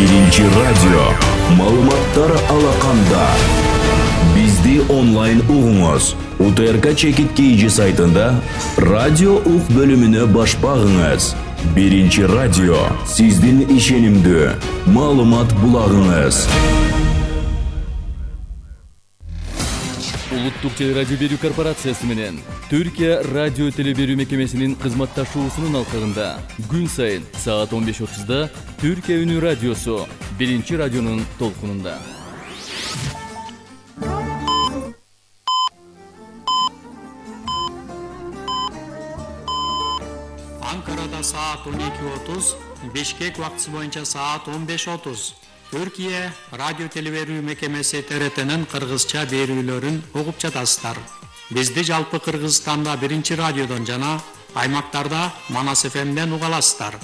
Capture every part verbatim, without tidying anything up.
Биринчи радио. Маалыматтар алаканда. Бизди онлайн угуңуз. УТРК чекит кейжи сайтында радио ук бөлүмүнө баш багыңыз. Биринчи радио. Сиздин ишенимдүү маалымат булагыңыз. Улуттук телерадио берүү корпорациясы менен Түркия радио телеберүү мекемесинин кызматташуусунун алкагында күн сайын саат он беш отузда Түркия үнү радиосу Биринчи радионун толкунунда. Анкарада саат он эки отуз, Бишкек убактысы боюнча саат он беш отуз. Түркия радио телеберүү мекемеси Т Р Т'нин кыргызча берүүлөрүн угуп жатасыздар. Бизди жалпы Кыргызстанда Биринчи радиодон жана аймактарда Манас Ф M'ден уга аласыздар.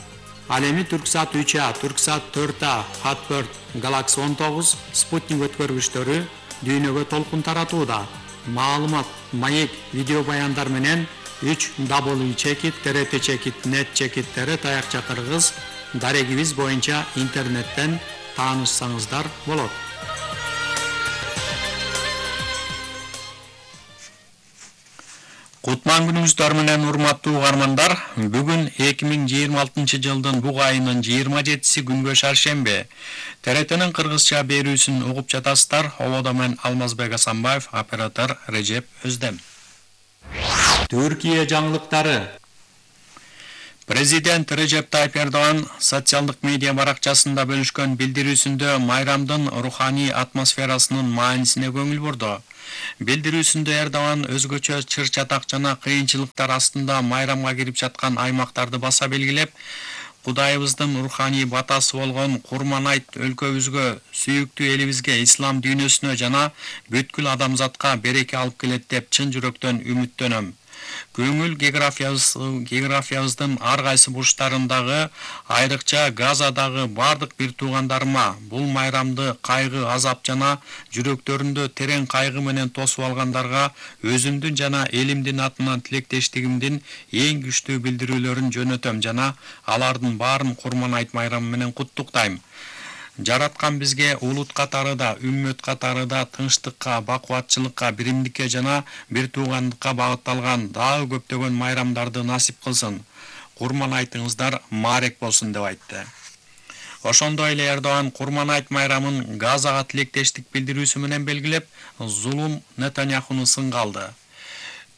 Ал эми Түрксат үч А, Түрксат төрт А, Хатберт, Галакси он тогуз, Спутник өткөргүчтөрү дүйнөгө толкун таратууда. Маалымат, маек, видео баяндар менен үч дабл ю чекит Т Р Т чекит нет чекит Т Р таякча кыргыз дарегибиз боюнча интернеттен таанышсаңыздар болот. Кутман күнүңүздөр менен урматтуу угармандар, бүгүн эки миң жыйырма алтынчы жылдын буг айынын жыйырма жетиси күнгө шаршемби. Т Р Т'нин кыргызча берүүсүн угуп жатасыздар. Ободо мен Алмазбек Асанбаев, оператор Режеп Өздем. Түркия жаңылыктары. Президент Режеп Тайып Эрдоган социалдык медиа баракчасында бөлүшкөн билдирүүсүндө майрамдын руханий атмосферасынын маанисине көңүл бурду. Билдирүүсүндө Эрдоган өзгөчө чыр-чатак жана кыйынчылыктар астында майрамга кирип жаткан аймактарды баса белгилеп, Кудайыбыздын руханий батасы болгон Курман айт өлкөбүзгө, сүйүктүү элибизге, ислам дүйнөсүнө жана бүткүл адамзатка береке алып келет деп чын жүрөктөн үмүттөнөм. Көңүл географиябыз, географиябыздын ар кайсы бурчтарындагы, айрыкча Газадагы бардык бир туугандарыма бул майрамды кайгы, азап жана жүрөктөрүндө терең кайгы менен тосуп алгандарга өзүмдүн жана элимдин атынан тилектештигимдин эң күчтүү билдирүүлөрүн жөнөтөм жана алардын баарын Курман айт майрамы менен куттуктайм. Жараткан бизге улут катарыда, үммөт катарыда тынчтыкка, бакубатчылыкка, биримдикке жана бир туугандыкка багытталган дагы көптөгөн майрамдарды насип кылсын. Курман айтыңыздар маарек болсун деп айтты. Ошондой эле Эрдоган Курман айт майрамын Газага тилектештик билдирүүсү менен белгилеп, зулум Нетаньяхуну сынга алды.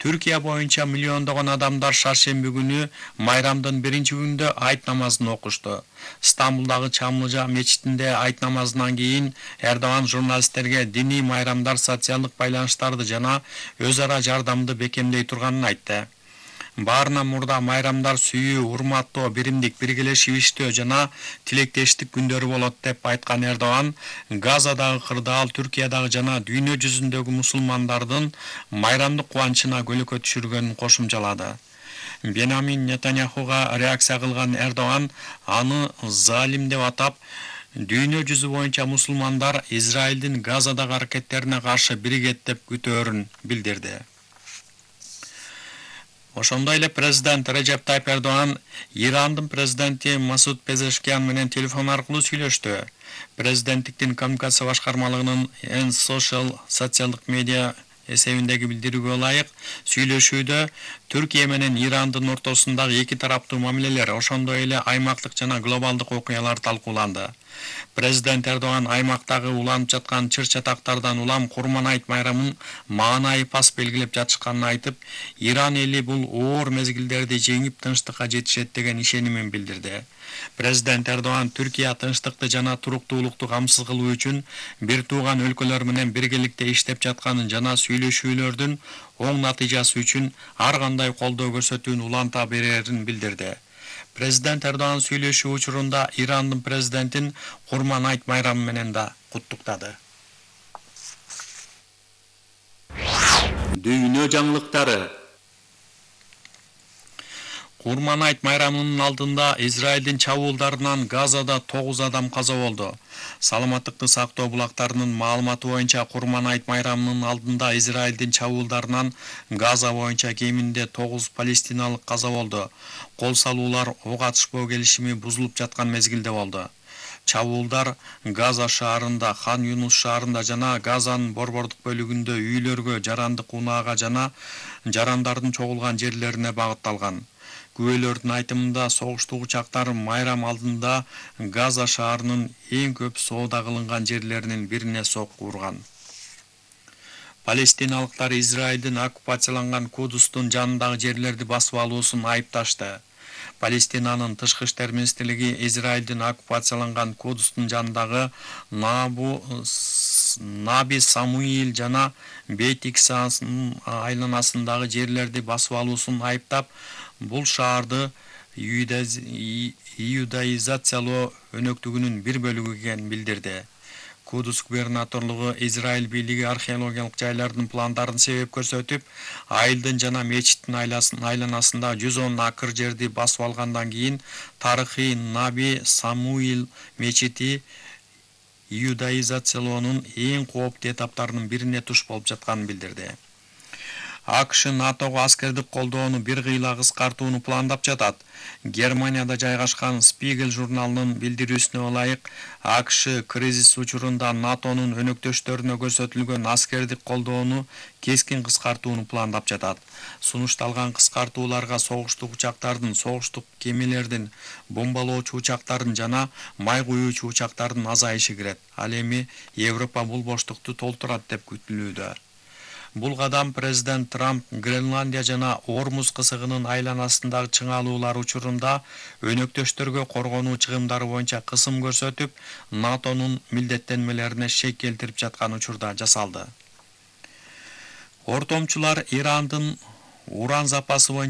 Түркия боюнча миллиондогон адамдар шаршемби күнү майрамдын биринчи күнүндө айт намазын окушту. Стамбулдагы Чамлыжа мечитинде айт намазынан кийин Эрдоган журналисттерге диний майрамдар социалдык байланыштарды жана өз ара жардамды бекемдей турганын айтты. Баарынан мурда майрамдар сүйүү, урматтоо, биримдик, биргелешип иштөө жана тилектештик күндөрү болот деп айткан Эрдоган, Газадагы кырдаал, Түркиядагы жана дүйнө жүзүндөгү мусулмандардын майрамдык кубанычына көлөкө түшүргөнүн кошумчалады. Бенамин Нетаньяхуга реакция кылган Эрдоган аны залим деп атап, дүйнө жүзү боюнча мусулмандар Израилдин Газадагы аракеттерине каршы биригет деп күтөөрүн билдирди. Ошондой эле президент Режеп Тайып Эрдоган Ирандын президенти Масуд Пезешкиян менен телефон аркылуу сүйлөштү. Президенттиктин коммуникация башкармалыгынын Эн Social социалдык медиа эсебиндеги билдирүүгө ылайык, сүйлөшүүдө Түркия менен Ирандын ортосундагы эки тараптуу мамилелер, ошондой эле аймактык жана глобалдык окуялар талкууланды. Президент Эрдоган аймактагы уланып жаткан чыр-чатактардан улам Курман айт майрамын маанайы пас белгилеп жатышканын айтып, Иран эли бул оор мезгилдерди жеңип тынчтыкка жетишет деген ишенимин билдирди. Президент Эрдоган Түркия тынчтыкты жана туруктуулукту камсыз кылуу үчүн бир тууган өлкөлөр менен биргеликте иштеп жатканын жана сүйлөшүүлөрдүн оң натыйжасы үчүн ар кандай колдоо көрсөтүүнү уланта берерин билдирди. Президент Эрдоган сүйлөшүү учурунда Ирандын президентин Курман айт майрамы менен да куттуктады. Дүйнө жаңылыктары. Курман айт майрамынын алдында Израилдин чабуулдарынан Газада тогуз адам каза болду. Саламаттыкты сактоо булактарынын маалыматы боюнча Курман айт майрамынын алдында Израилдин чабуулдарынан Газа боюнча кеминде тогуз палестиналык каза болду. Кол салуулар ок атышпоо келишими бузулуп жаткан мезгилде болду. Чабуулдар Газа шаарында, Хан Юнус шаарында жана Газанын борбордук бөлүгүндө үйлөргө, жарандык унаага жана жарандардын чогулган жерлерине багытталган. Күбөлөрдүн айтымында согуштук учактар майрам алдында Газа шаарынын эң көп соода кылынган жерлеринин бирине сокку урган. Палестиналыктар Израилдин оккупацияланган Кудустун жанындагы жерлерди басып алуусун айыпташты. Палестинанын тышкы иштер министрлиги Израилдин оккупацияланган Кудустун жанындагы Набу Наби Самуил жана Бейт Иксанын айланасындагы жерлерди басып алуусун айыптап, бул шаарды иудаизациялоо өнөктүгүнүн бир бөлүгү экенин билдирди. Кудус губернаторлугу Израиль бийлиги археологиялык жайлардын пландарын себеп көрсөтүп, айылдын жана мечиттин айланасында жүз он акр жерди басып алгандан кийин тарыхый Наби Самуил мечити иудаизациялоонун эң кооптуу этаптарынын бирине туш болуп жатканын билдирди. АКШ НАТОго аскердик колдоону бир кыйла кыскартууну пландап жатат. Германияда жайгашкан Spiegel журналынын билдирүүсүнө ылайык, АКШ кризис учурунда НАТОнун өнөктөштөрүнө көрсөтүлгөн аскердик колдоону кескин кыскартууну пландап жатат. Сунушталган кыскартууларга согуштук учактардын, согуштук кемелердин, бомбалоочу учактардын жана май куюучу учактардын азайышы кирет. Ал эми Европа бул боштукту толтурат деп күтүлүүдө. Бул кадам президент Трамп Гренландия жана Ормуз кысыгынын айланасындагы чыңалуулар учурунда өнөктөштөргө коргонуу чыгымдары боюнча кысым көрсөтүп, НАТОнун милдеттенмелерине шек келтирип жаткан учурда жасалды. Ортомчулар Ирандын уран запасы боюнча